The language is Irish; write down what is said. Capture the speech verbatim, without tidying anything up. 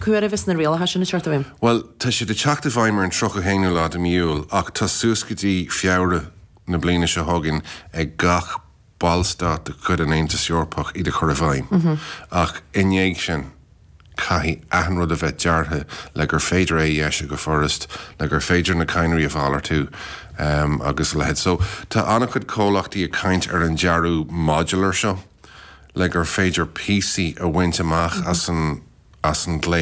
Cá huair a bheas na rialacha sin ag teacht i bhfeidhm? Well, tá siad ag teacht i bhfeidhm ar an tríocha haonú lá de mí Iúil, ach tá suas go dtí Feabhra na bliana seo chugainn ag gach ballstát de chuid an Aontais Eorpach iad a chur i bhfeidhm. Ach i ndiaidh sin, caithfidh achan rud a bheith deartha le gur féidir é a dheisiú go furast, le gur féidir na cadhnraí a mhalartú um, agus a leithéid. So tá an-chuid comhlachtaí ag caint ar an dearadh modular seo, le gur féidir píosaí a bhaint amach as an as an ghléas.